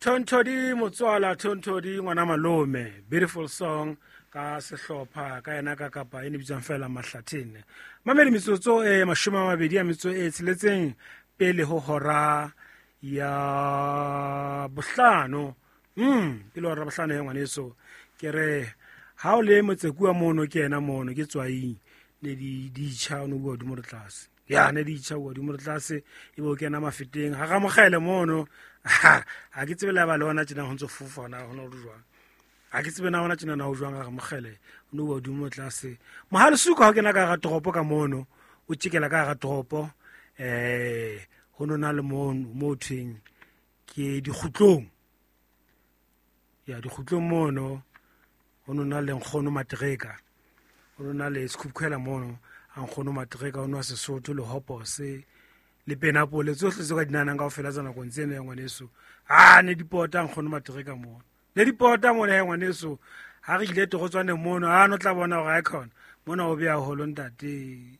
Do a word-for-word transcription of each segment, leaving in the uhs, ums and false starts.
Thonthodi motswala, Thonthodi ngwana malome. Beautiful song ka sehlopha ka yena ka kapa e ne bitswang fela Mahlathene. Mamedi, metsotso e mashome a mabedi a metso e tsheletseng pele ho hora ya bohlano. Mm, pele hora bohlano ya ngwaneso. Ke re ha o le motsekua mono, ke yena mono ke tswaing ne di di tjha o no bua hodimo le tlase. Ya ne di tjha o hodimo le tlase, e bo kena Mafeteng ha ramogele mono. Ha ke tsebe le ba le ona tjena ho ntso fofa na hona ho jwang. Ha ke tsebe na hona tjena na ho jwang. Ha ramogele o no bua hodimo le tlase. Mohalesuka ha kena ka hara toropo ka mono, o tjekela ka hara toropo, eh ho no na le mono mo thweng ke Dikgutlong. Ya Dikgutlong mono ho no na le nkgono Matreka, ho no na le sekhukhuela mono a nkgono Matreka, o nwa Sesotho le hopose le penapole tsohle tse ka di nahanang kaofela tsa nakong tseno ya ngwaneso. A ne di pota nkgono Matreka mono, ne di pota mona ya ngwaneso. Ha re ile torotswaneng mono, a no tla bona hore ha e khona mona o beya holo ntate.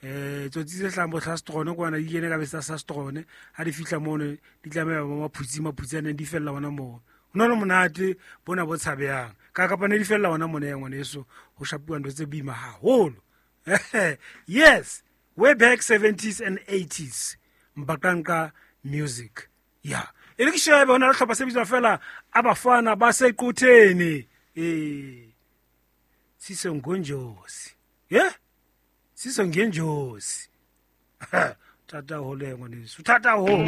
Eh tsotsi tse hlahang bo Hlastrone kwana di kene ka besa Sastrone, ha di fihla mono di tlameha ba maphutsi maphutsi a neng di fella hona moo. Ho na le monate bona bo tshabehang ka kapa ne di fella hona mona ya ngwaneso, ho shapuwa ntho tse boima haholo. Yes, way back seventies and eighties Mbakanka music. Ya e le ke shebe hona le hlopha se bitswa fela Abafana ba Sequtheni. Eh Siso Ngonjosi, ye Siso Ngenjosi. Thata haholo ya ngwaneso, thata haholo.